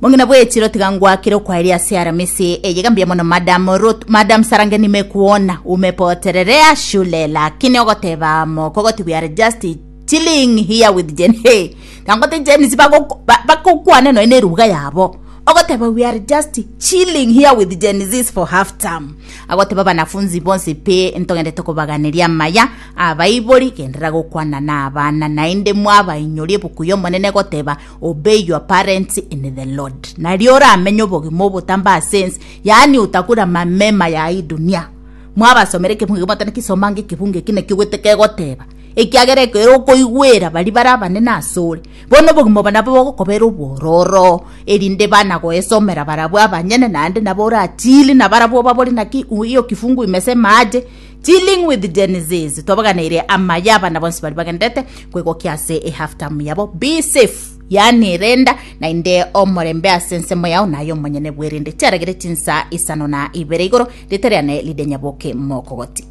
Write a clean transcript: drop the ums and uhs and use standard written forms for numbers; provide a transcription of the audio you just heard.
Mong'ina bw'echiro tiga ngwakire okwaeria ase Aramisi eye iga mbuya mono Madam Ruth Madam Sarange nimekuona umepotererea shule lakini ogoteba mokogoti we are just chilling here with Gen hey tangote Gen Z bagoko- ba- bagokwana nonya na eruga yabo ogoteba we are just chilling here with Gen Zs for half term agoteba banafunzi bonsi pi ntogendete kobaganeria amaya abaibori genderera gokwana na abana naende mwabainyoria ebuku y'omonene goteba Obey your parents in the Lord. Nario oramenye obogima obotambe ase ense, yaani utakula mamema ya hii dunia. Mwabasomera ekebungo ekio mwatana kisoma ange ekebungo eki nakio gote kegoteba. Ekiagera ekero okoigwera baria bare abanene asore, bono obogima obo nabo bogokobera obwororo, erinde bana goesomera barabwo abanyene naende nabo orachili nabarabwo obabore naki hiyo kifungu imesema aje. Dealing with Gen Zs twabaganeire amaya abana bonsi bari bagenderete kwegokia ase ehalf term yabo be safe yaani renda naende omorembe ase ensemo yao naye omonyene bwerende chiaragere chinsa isano na ibere igoro rieta riane Lydia Nyaboke mokogoti.